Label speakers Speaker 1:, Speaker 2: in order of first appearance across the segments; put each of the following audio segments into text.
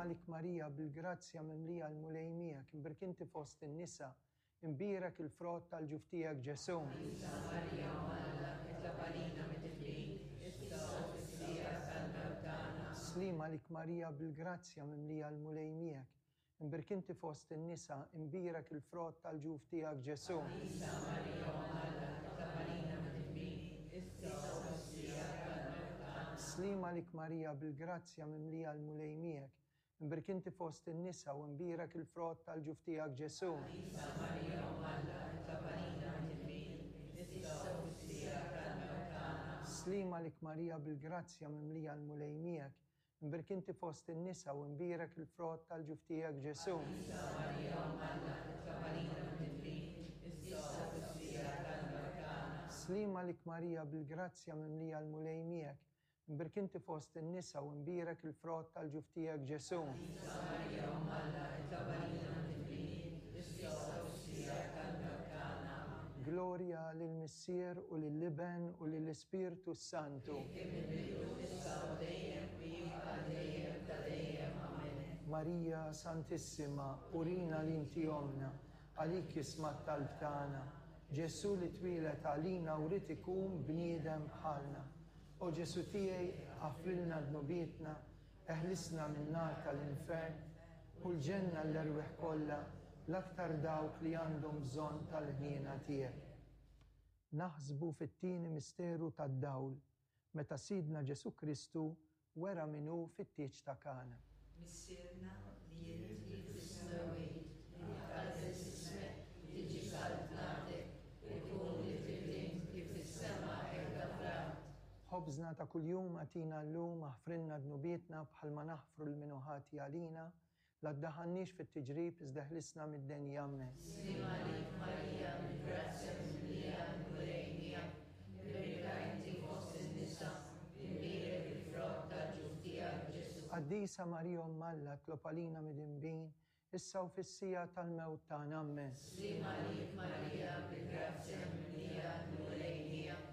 Speaker 1: għalik Marija, bil-grazzja mimlija l-Mulej miegħek, imbierka inti fost in-nisa, imbierek il-frott tal-ġuf tiegħek Ġesù.
Speaker 2: Qaddisa Marija Omm Alla, itlob għalina midinbin, issa u fis-siegħa tal-mewt tagħna.
Speaker 1: Sliem għalik Marija, bil-grazzja mimlija l-Mulej miegħek, imbierka inti fost in-nisa, imbierek il-frott tal-ġuf tiegħek Ġesù.
Speaker 2: Qaddisa Marija Omm Alla, itlob għalina midinbin, issa u fis-siegħa tal-mewt tagħna.
Speaker 1: Sliem għalik Marija, bil-grazzja mimlija l-Mulej miegħek, imbierka inti fost in-nisa u imbierek il-frott tal-ġuf tiegħek Ġesù.
Speaker 2: Qaddisa Marija Omm Alla, itlob għalina midinbin, issa u fis-siegħa tal-mewt tagħna.
Speaker 1: Sliem għalik Marija, bil-grazzja mimlija l-Mulej miegħek, imbierka inti fost in-nisa u imbierek il-frott tal-ġuf tiegħek Ġesù.
Speaker 2: Qaddisa Marija Omm Alla, itlob għalina midinbin, issa u fis-siegħa tal-mewt tagħna.
Speaker 1: Sliem għalik Marija, bil-grazzja mimlija l-Mulej miegħek, imbierka inti fost in-nisa u imbierek il-frott tal-ġuf tiegħek Ġesù.
Speaker 2: Qaddisa Marija Omm Alla, itlob għalina midinbin, issa u fis-siegħa tal-mewt tagħna. Amen.
Speaker 1: Glorja lill-Missier u lill-Iben u lill-Ispirtu s-Santu.
Speaker 2: Kif kien mill-bidu, issa u dejjem, u jibqa' għal dejjem ta' dejjem. Amen.
Speaker 1: Marija Santissima, urina li inti ommna, għalik jisma' t-talb tagħna. Ġesù li twieled għalina u ried ikun bniedem bħalna. O Ġesù tiegħi, aħfrilna dnubietna, eħlisna min-nar tal-infern, u l-ġenna l-erwieħ kollha, l-aktar dawk li għandhom bżonn tal-ħniena tiegħek. Naħsbu fit-tieni misteru tad-dawl, meta Sidna Ġesù Kristu wera min hu fit-tieġ ta' Kana.
Speaker 2: Missierna li inti fis-smewwiet, jitqaddes ismek, tiġi saltnatek, ikun li trid int kif fis-sema hekk fl-art.
Speaker 1: Ħobżna ta' kuljum agħtina llum, aħfrilna dnubietna bħalma naħfru 'l min hu ħati għalina, la ddaħħalniex fit-tiġrib iżda eħlisna mid-deni. Amen.
Speaker 2: Sliem għalik Marija, bil-grazzja mimlija l-Mulej miegħek, imbierka inti fost in-nisa, imbierek il-frott tal-ġuf tiegħek Ġesù.
Speaker 1: Qaddisa Marija Omm Alla, itlob għalina midinbin, issa u fis-siegħa tal-mewt tagħna. Amen.
Speaker 2: Sliem għalik Marija, bil-grazzja mimlija l-Mulej miegħek,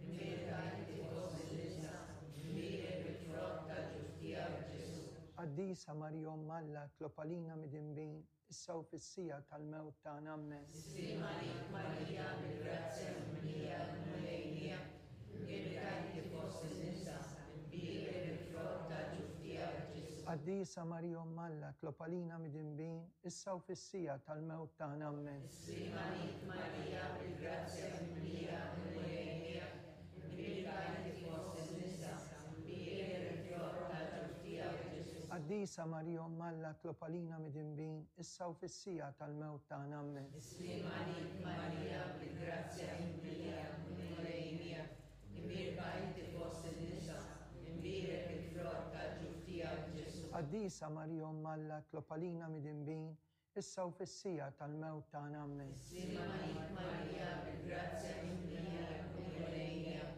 Speaker 2: imbierka inti fost in-nisa, imbierek il-frott tal-ġuf tiegħek Ġesù.
Speaker 1: Qaddisa Marija Omm Alla, itlob għalina midinbin, issa u fis-siegħa tal-mewt tagħna. Amen.
Speaker 2: Sliem għalik Marija, bil-grazzja mimlija l-Mulej miegħek, imbierka inti fost in-nisa, imbierek il-frott tal-ġuf tiegħek Ġesù.
Speaker 1: Qaddisa Marija Omm Alla, itlob għalina midinbin, issa u fis-siegħa tal-mewt tagħna. Amen.
Speaker 2: Sliem għalik Marija, bil-grazzja mimlija l-Mulej miegħek, imbierka inti fost in-nisa, imbierek il-frott tal-ġuf tiegħek Ġesù.
Speaker 1: Qaddisa Marija Omm Alla, itlob għalina midinbin, issa u fis-siegħa tal-mewt tagħna. Amen.
Speaker 2: Sliem għalik Marija, bil-grazzja mimlija l-Mulej miegħek, imbierka inti fost in-nisa, imbierek il-frott tal-ġuf tiegħek Ġesù.
Speaker 1: Qaddisa Marija Omm Alla, itlob għalina midinbin, issa u fis-siegħa tal-mewt tagħna. Amen.
Speaker 2: Sliem għalik Marija, bil-grazzja mimlija l-Mulej miegħek,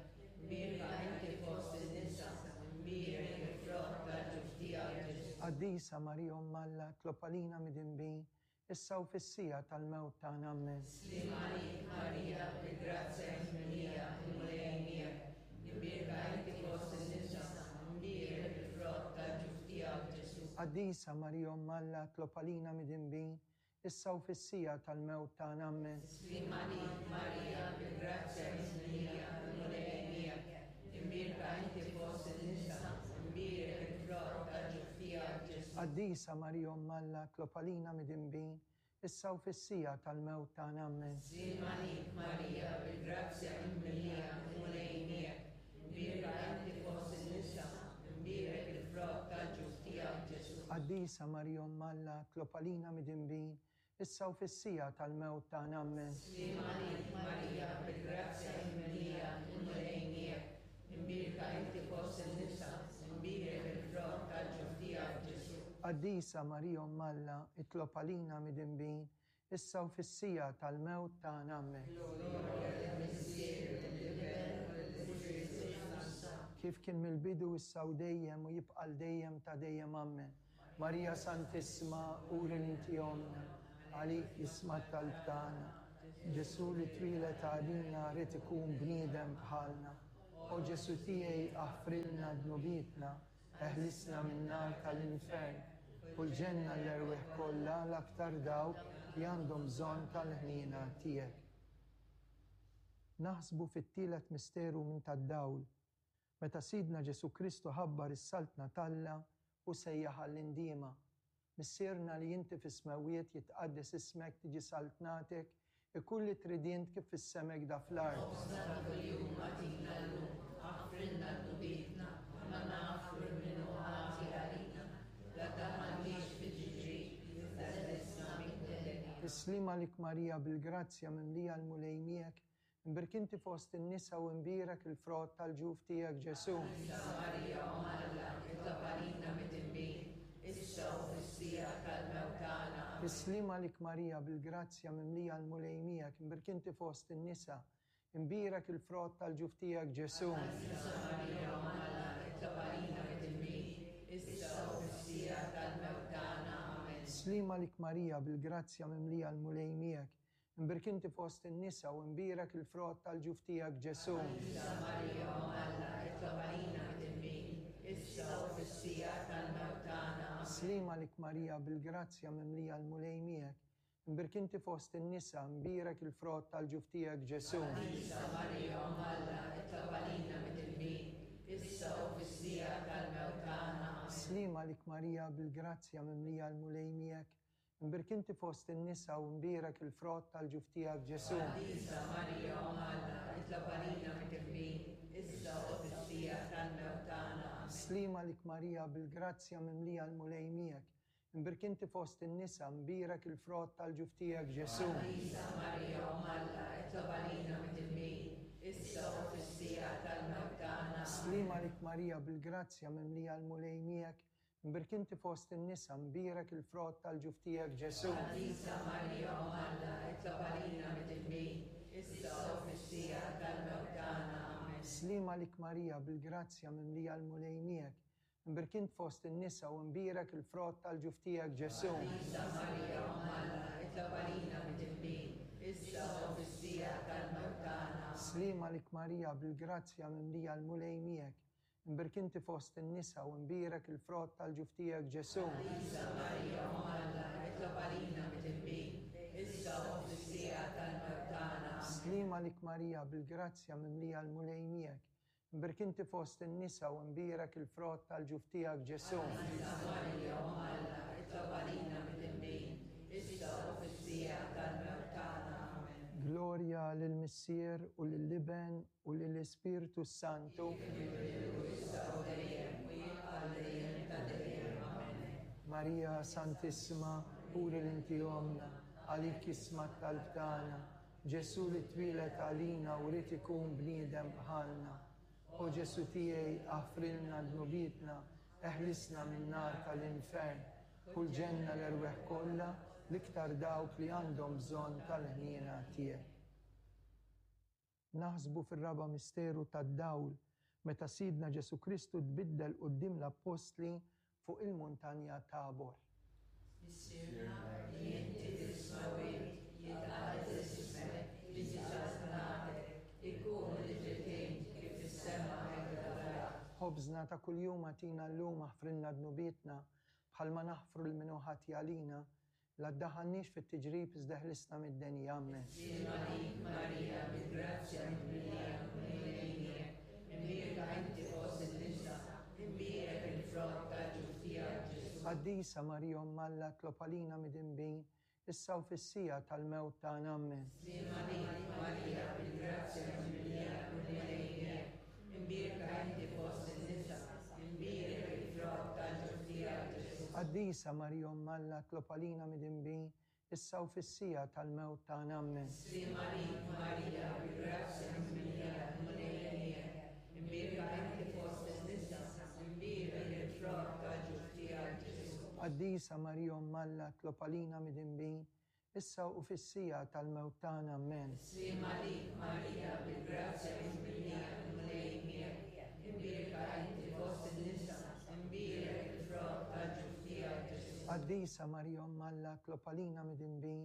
Speaker 2: imbierka inti fost in-nisa, imbierek il-frott tal-ġuf tiegħek Ġesù.
Speaker 1: Qaddisa Marija Omm Alla, itlob għalina midinbin, issa u fis-siegħa tal-mewt tagħna. Amen.
Speaker 2: Sliem għalik Marija, bil-grazzja mimlija l-Mulej miegħek, imbierka inti fost in-nisa, imbierek il-frott tal-ġuf tiegħek Ġesù.
Speaker 1: Qaddisa Marija Omm Alla, itlob għalina midinbin, issa u fis-siegħa tal-mewt tagħna. Amen.
Speaker 2: Sliem għalik Marija, bil-grazzja mimlija l-Mulej miegħek, imbierka inti fost in-nisa, imbierek il-frott tal-ġuf tiegħek Ġesù.
Speaker 1: Qaddisa Marija Omm Alla, itlob għalina midinbin, issa u fis-siegħa tal-mewt tagħna. Amen.
Speaker 2: Sliem għalik Marija, bil-grazzja mimlija l-Mulej miegħek, imbierka inti fost in-nisa, imbierek il-frott tal-ġuf tiegħek Ġesù.
Speaker 1: Qaddisa Marija Omm Alla, itlob għalina midinbin, issa u fis-siegħa tal-mewt tagħna. Amen.
Speaker 2: Sliem għalik Marija, bil-grazzja mimlija l-Mulej miegħek, imbierka inti fost in-nisa, imbierek il-frott tal-ġuf tiegħek Ġesù.
Speaker 1: Qaddisa Marija Omm Alla, itlob għalina midinbin, issa u fis-siegħa tal-mewt tagħna. Amen.
Speaker 2: Glorja lill-Missier, lill-Iben u lill-Ispirtu s-Santu.
Speaker 1: Kif kien mill-bidu, issa u dejjem u jibqa' l dejjem ta' dejjem. Amen. Marija Santissima, uri li inti ommna, għalik jisma' t-talb tagħna. Ġesù li twieled għalina ried ikun bniedem bħalna. O Ġesù tiegħi, aħfrilna dnubietna, eħlisna min-nar tal-infern, U l-ġenna l-erwieħ kollha l-aktar dawk li għandhom bżonn tal-ħniena tiegħek. Naħsbu fit-tielet misteru minn tad-dawl, meta Sidna Ġesù Kristu ħabbar is-Saltna t'Alla u sejjaħ għall-indiema. Missierna li inti fis-smewwiet jitqaddes ismek tiġi saltnatek, ikun li trid int kif fis-sema hekk fl-art.
Speaker 2: Ħobżna ta' kuljum agħtina llum, aħfrilna dnubietna bħalma naħfru lil min hu ħati għalina, la tdaħħalniex fi tiġrib, iżda eħlisna mid-deni.
Speaker 1: Is-sliem għalik Marija bil-grazzja mimlija l-Mulej miegħek, imbierk inti fost in-nisa u imbierek il-frott tal-ġuf tiegħek Ġesù.
Speaker 2: Qaddisa Marija Omm Alla, itlob għalina midinbin, issa u fis-siegħa tal-mewt tagħna. Amen.
Speaker 1: Is-sliem għalik Marija bil-grazzja mimlija l-Mulej miegħek, imbierk inti fost in-nisa, imbierek il-frott tal-ġuf tiegħek Ġesù.
Speaker 2: Qaddisa Marija Omm Alla, itlob għalina midinbin, issa u fis-siegħa tal-mewt tagħna. Amen.
Speaker 1: Sliem għalik Marija bil-grazzja mimlija l-Mulej miegħek, imbierk inti fost in-nisa u imbierek il-frott tal-ġuf tiegħek Ġesù.
Speaker 2: Qaddisa Marija Omm Alla, itlob għalina midinbin, issa u fis-siegħa tal-mewt tagħna. Amen.
Speaker 1: Sliem għalik Marija bil-grazzja mimlija l-Mulej miegħek, imbierk inti fost in-nisa, imbierek il-frott tal-ġuf tiegħek Ġesù.
Speaker 2: Qaddisa Marija Omm Alla, itlob għalina midinbin, issa u fis-siegħa tal-mewt tagħna. Amen.
Speaker 1: Sliem għalik Marija bil-grazzja mimlija l-Mulej miegħek, imbierk inti fost in-nisa u imbierek il-frott tal-ġuf tiegħek Ġesù.
Speaker 2: Qaddisa Marija Omm Alla, itlob għalina midinbin, issa u fis-siegħa tal-mewt tagħna. Amen.
Speaker 1: Sliem għalik Marija bil-grazzja mimlija l-Mulej miegħek, imbierk inti fost in-nisa, imbierek il-frott tal-ġuf tiegħek Ġesù.
Speaker 2: Qaddisa Marija Omm Alla, itlob għalina midinbin, issa u fis-siegħa tal-mewt tagħna. Amen.
Speaker 1: Sliem għalik Marija bil-grazzja mimlija l-Mulej miegħek, imbierk inti fost in-nisa, imbierek il-frott tal-ġuf tiegħek Ġesù.
Speaker 2: Qaddisa Marija Omm Alla, itlob għalina midinbin, issa u fis-siegħa tal-mewt tagħna. Amen.
Speaker 1: Sliem għalik Marija bil-grazzja mimlija l-Mulej miegħek, imbierk int fost in-nisa u imbierek il-frott tal-ġuf tiegħek Ġesù.
Speaker 2: Qaddisa Marija Omm Alla, itlob għalina midinbin, issa u fis-siegħa tal-mewt tagħna. Amen.
Speaker 1: Sliem għalik Marija bil-grazzja mimlija l-Mulej miegħek, imbierk inti fost in-nisa u imbierek il-frott tal-ġuf tiegħek Ġesù.
Speaker 2: Qaddisa Marija Omm Alla, itlob għalina midinbin, issa u fis-siegħa tal-mewt tagħna. Amen.
Speaker 1: Sliem għalik Marija bil-grazzja mimlija l-Mulej miegħek, imbierk inti fost in-nisa u imbierek il-frott tal-ġuf tiegħek Ġesù.
Speaker 2: Qaddisa Marija Omm Alla, itlob għalina midinbin, issa u fis-siegħa tal-mewt tagħna. Amen.
Speaker 1: Glorja lill-Missier u lill-Iben u lill-Ispirtu Santu. Marija Santissima, uri l-inti omna, għalik isma t-talb tagħna. Ġesù li twieled għalina u ried ikun bniedem bħalna. O Ġesù tiegħi, aħfrilna dnubietna, eħlisna min-nar tal-infern, u l-ġenna l-erwieħ kollha, l-iktar dawk li għandhom bżonn tal-ħniena tiegħek. Naħsbu fir-raba' misteru tad-dawl meta Sidna Ġesù Kristu tbiddel quddiem l-appostli fuq il-muntanja Tabor.
Speaker 2: Missierna li inti fis-smewwiet, jitqaddes ismek, tiġi saltnatek, ikun li trid int kif fis-sema hekk fl-art.
Speaker 1: Ħobżna ta' kuljum agħtina llum aħfrilna dnubietna bħalma naħfru lil min hu ħati għalina, la ddaħħalniex fit-tiġrib iżda ħlisna mid-deni. Amen.
Speaker 2: Sliem għalik Marija, bil-grazzja mimlija l-Mulej miegħek, imbierka inti fost in-nisa, imbierek il-frott tal-ġuf tiegħek Ġesù.
Speaker 1: Qaddisa Marija Omm Alla, itlob għalina midinbin, issa u fis-siegħa tal-mewt tagħna. Amen.
Speaker 2: Sliem għalik Marija, bil-grazzja mimlija l-Mulej miegħek, imbierka inti fost in-nisa, imbierek il-frott tal-ġuf tiegħek Ġesù.
Speaker 1: Qaddisa Marija Omm Alla, itlob għalina midinbin, issa u fis-siegħa tal-mewt tagħna. Amen.
Speaker 2: Sliem għalik Marija, bil-grazzja mimlija l-Mulej miegħek, imbierka inti fost in-nisa, imbierek il-frott tal-ġuf tiegħek Ġesù.
Speaker 1: Qaddisa Marija Omm Alla, itlob għalina midinbin, issa u fis-siegħa tal-mewt tagħna. Amen.
Speaker 2: Sliem għalik Marija, bil-grazzja mimlija l-Mulej miegħek, imbierka inti fost in-nisa, imbierek il-frott tal-ġuf tiegħek Ġesù.
Speaker 1: Qaddisa Marija Omm Alla, itlob għalina midinbin,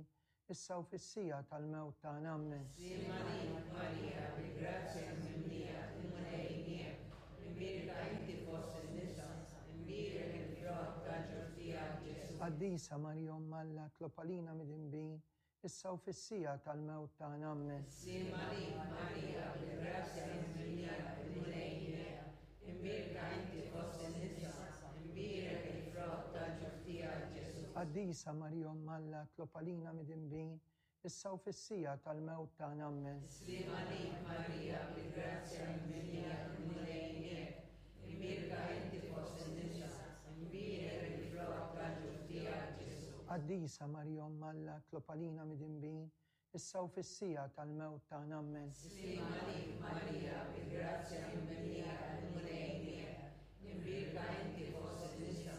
Speaker 1: issa u fis-siegħa tal-mewt tagħna. Amen.
Speaker 2: Sliem għalik Marija, bil-grazzja mimlija l-Mulej miegħek, imbierka inti fost in-nisa, imbierek il-frott tal-ġuf tiegħek Ġesù.
Speaker 1: Qaddisa Marija Omm Alla, itlob għalina midinbin, issa u fis-siegħa tal-mewt tagħna. Ammen.
Speaker 2: Sliem għalik Marija, bil-grazzja mimlija, il-Mulej miegħek. Imbierka inti fost in-nisa, imbierek il-frott tal-ġuf tiegħek Ġesù.
Speaker 1: Qaddisa Marija Omm Alla, itlob għalina midinbin, issa u fis-siegħa tal-mewt tagħna. Ammen.
Speaker 2: Sliem għalik Marija, bil-grazzja mimlija, il-Mulej miegħek. Imbierka inti fost in-nisa, imbierek il-frott tal-ġuf tiegħek Ġesù.
Speaker 1: Qaddisa Marija Omm Alla, itlob għalina midinbin, issa u fis-siegħa tal-mewt tagħna. Ammen.
Speaker 2: Sliem għalik Marija, bil-grazzja mimlija, il-Mulej miegħek. Imbierka inti fost in-nisa,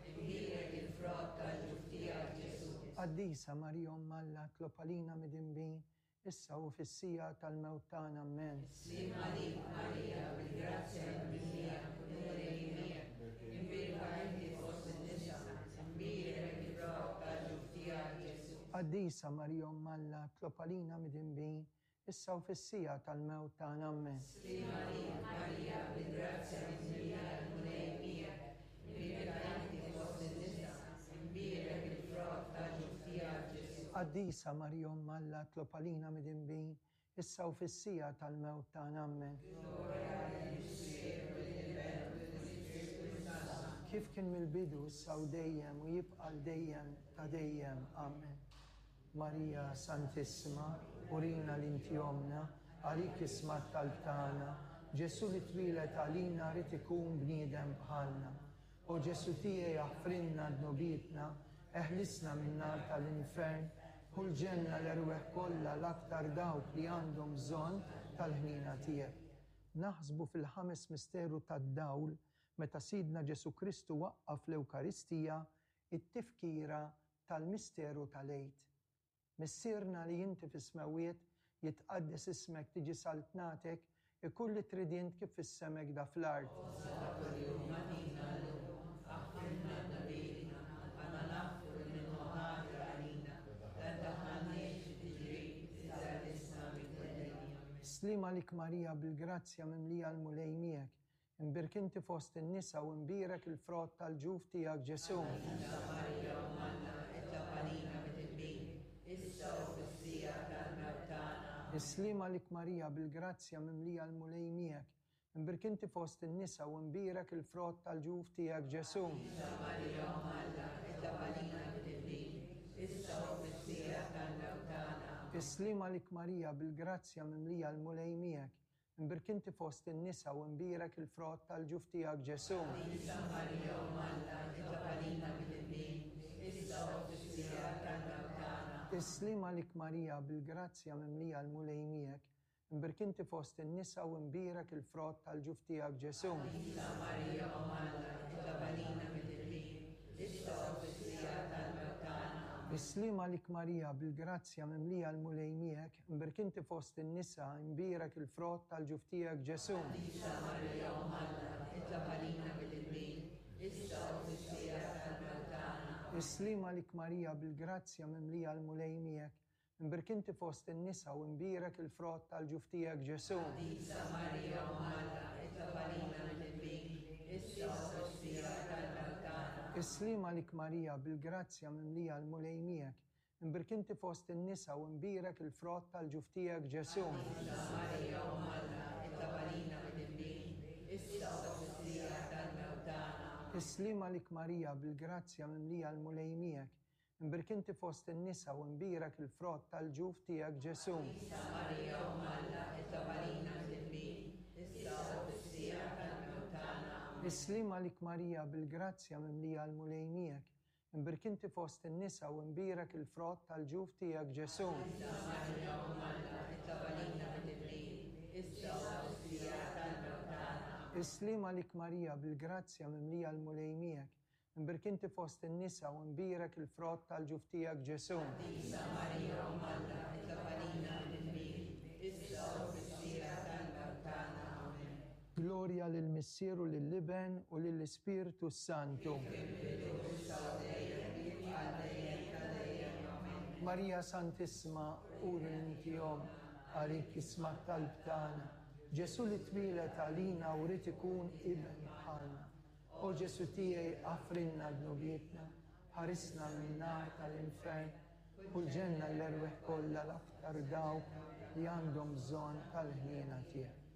Speaker 2: imbierek il-frott tal-ġuf tiegħek Ġesù.
Speaker 1: Qaddisa Marija Omm Alla, itlob għalina midinbin, issa u fis-siegħa tal-mewt tagħna. Ammen.
Speaker 2: Sliem għalik Marija, bil-grazzja mimlija, il-Mulej miegħek. Imbierka inti fost in-nisa, imbierek il-frott tal-ġuf tiegħek Ġesù.
Speaker 1: Qaddisa Marija Omm Alla, itlob għalina midinbin, issa u fis-siegħa tal-mewt tagħna. Ammen.
Speaker 2: Sliem għalik Marija, bil-grazzja mimlija, il-Mulej miegħek. Imbierka inti fost in-nisa, imbierek il-frott tal-ġuf tiegħek Ġesù.
Speaker 1: Qaddisa Marija Omm Alla, itlob għalina midinbin, issa u fis-siegħa tal-mewt tagħna. Ammen.
Speaker 2: Glorja lill-Missier u lill-Iben u lill-Ispirtu s-Santu.
Speaker 1: Kif kien mill-bidu, issa u dejjem u jibqa' l dejjem ta' dejjem. Amen. Marija Santissima, urina li inti ommna, għalik isma' t-talb tagħna. Ġesù li twieled għalina ried ikun bniedem bħalna. O Ġesù tiegħi aħfrilna dnubietna, eħlisna min-nar tal-infern, ħu l-ġenna l-erwieħ kollha l-aktar dawk li għandhom bżonn tal-ħniena tiegħek. Naħsbu fil-ħames misteru tad-dawl meta Sidna Ġesù Kristu waqqaf l-Ewkaristija, it-tifkira tal-misteru tal-Għid. Missierna li inti fis-smewwiet, jitqaddes ismek, tiġi saltnatek, ikun li trid int kif fis-sema hekk da fl-art.
Speaker 2: Ħobżna ta' kuljum agħtina llum, aħfrilna dnubietna, bħalma naħfru lil min hu ħati għalina, la ddaħħalniex fit-tiġrib, iżda ħlisna minn kull deni. Ammen.
Speaker 1: Sliem għalik Marija bil-grazzja mimlija l-Mulej miegħek, Imbierk inti fost in-nisa u imbierek il-frott tal-ġuf tiegħek Ġesù.
Speaker 2: Qaddisa Marija Omm Alla, itlob għalina midinbin, issa u fis-siegħa tal-mewt tagħna. Amen.
Speaker 1: Is-sliem għalik Marija bil-grazzja mimlija l-Mulej miegħek. Imbierk inti fost in-nisa u imbierek il-frott tal-ġuf tiegħek Ġesù.
Speaker 2: Qaddisa Marija Omm Alla, itlob għalina midinbin, issa u fis-siegħa tal-mewt tagħna. Amen.
Speaker 1: Is-sliem għalik Marija bil-grazzja mimlija l-Mulej miegħek. Imbierk inti fost in-nisa u imbierek il-frott tal-ġuf tiegħek Ġesù.
Speaker 2: Qaddisa Marija Omm Alla, itlob għalina midinbin, issa u fis-siegħa tal-mewt tagħna.
Speaker 1: Is-sliem għalik Marija bil-grazzja mimlija l-Mulej miegħek. Imbierk inti fost in-nisa u imbierek il-frott tal-ġuf tiegħek Ġesù.
Speaker 2: Qaddisa Marija Omm Alla, itlob għalina midinbin, issa u fis-siegħa tal-mewt tagħna. Amen.
Speaker 1: Is-sliem għalik Marija bil-grazzja mimlija l-Mulej miegħek. Imbierk inti fost in-nisa, imbierek il-frott tal-ġuf tiegħek Ġesù.
Speaker 2: Qaddisa Marija Omm Alla, itlob għalina midinbin, issa u fis-siegħa tal-mewt tagħna.
Speaker 1: Is-sliem għalik Marija bil-grazzja mimlija l-Mulej miegħek. Imbierk inti fost in-nisa u imbierek il-frott tal-ġuf tiegħek Ġesù.
Speaker 2: Qaddisa Marija Omm Alla, itlob għalina midinbin, issa u fis-siegħa tal-mewt tagħna.
Speaker 1: Is-sliem għalik Marija bil-grazzja mimlija l-Mulej miegħek. Imbierk inti fost in-nisa u imbierek il-frott tal-ġuf tiegħek Ġesù.
Speaker 2: Qaddisa Marija Omm Alla, itlob għalina midinbin, issa u fis-siegħa tal-mewt tagħna. Amen.
Speaker 1: Is-sliem għalik Marija bil-grazzja mimlija l-Mulej miegħek. Imbierk inti fost in-nisa u imbierek il-frott tal-ġuf tiegħek Ġesù.
Speaker 2: Qaddisa Marija Omm Alla, itlob għalina midinbin, issa u fis-siegħa tal-mewt tagħna. Amen.
Speaker 1: Is-sliem għalik Marija bil-grazzja mimlija l-Mulej miegħek. Imbierk inti fost in-nisa u imbierek il-frott tal-ġuf tiegħek Ġesù.
Speaker 2: Qaddisa Marija Omm Alla, itlob għalina midinbin, issa u fis-siegħa tal-mewt tagħna. Amen.
Speaker 1: Is-sliem għalik Marija bil-grazzja mimlija l-Mulej miegħek. Imbierk inti fost in-nisa u imbierek il-frott tal-ġuf tiegħek Ġesù.
Speaker 2: Qaddisa Marija Omm Alla, itlob għalina midinbin, issa u fis-siegħa tal-mewt tagħna. Amen.
Speaker 1: Glorja lill-Missier u lill-Iben u lill-Ispirtu s-Santu. Marija Santissima, uri inti omm, għalik isma' t-talb tagħna. Ġesù li twieled għalina u ried ikun iben bħalna. O Ġesù tiegħi aħfrilna dnubietna, Ħarisna min-nar tal-infern u l-ġenna l-erwieħ kollha l-aktar dawk li għandhom bżonn tal-ħniena tiegħek.